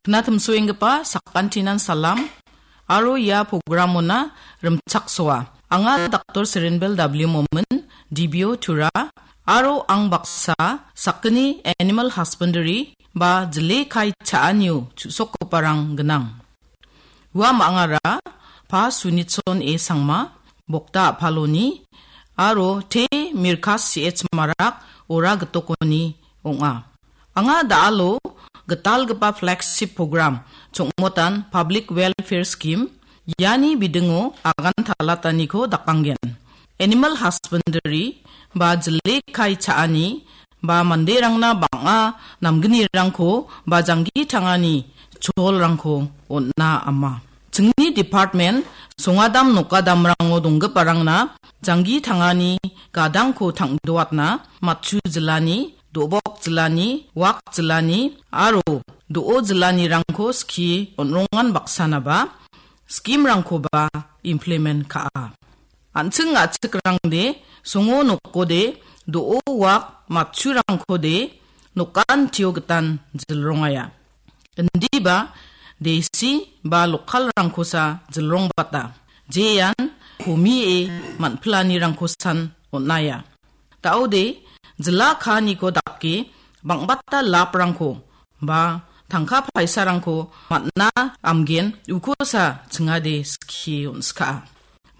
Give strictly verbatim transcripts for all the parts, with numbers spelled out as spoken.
Knatimsoenggipa sakantinan salam, aro ia programona rimchaksoa. Anga Doktor Serenbel W Momin, D B O Tura, aro ang baksa sakgni animal husbandry ba jile kai cha·anio chu·sokgiparang gnang. Ua mangara Pa Sunitson A Sangma, Bokta Apaloni, aro Te Mirkas C H Marak, Ora Gitokoni ong·a. Anga da·alo gitalgipa flagship program, Chongmotan Public Welfare Scheme, iani bidingo agan talataniko dakanggen. Animal husbandry ba jile kai cha·ani ba manderangna bang·a namgnirangko ba janggi tangani cholrangko on·a ama. Chingni department songadam nokadamrango donggiparangna janggi tangani gadangko tang·doatna matchu jilani, do·bok jilani, wak jilani aro do·o jilanirangko skie on·rongan baksanaba scheme-rangkoba implement ka·a. An·ching a·chikrangde songo nokode do·o wak matchurangkode nokantio gitan jilrongaia. Indiba desi ba lokalrangkosa jilrongbata. Jean komie man·pilanirangkosan on·aia. Da·ode jila kaaniko dake bang·bata laprangko ba tangka paisarangko man·na amgen ukosa chingade skie on·skaa.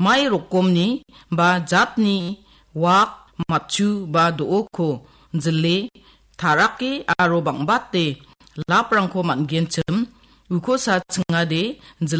Mai rokomni ba jatni wak matchu ba do·oko jile tarake aro bang·bate laprangko man·genchim ukosa chingade jil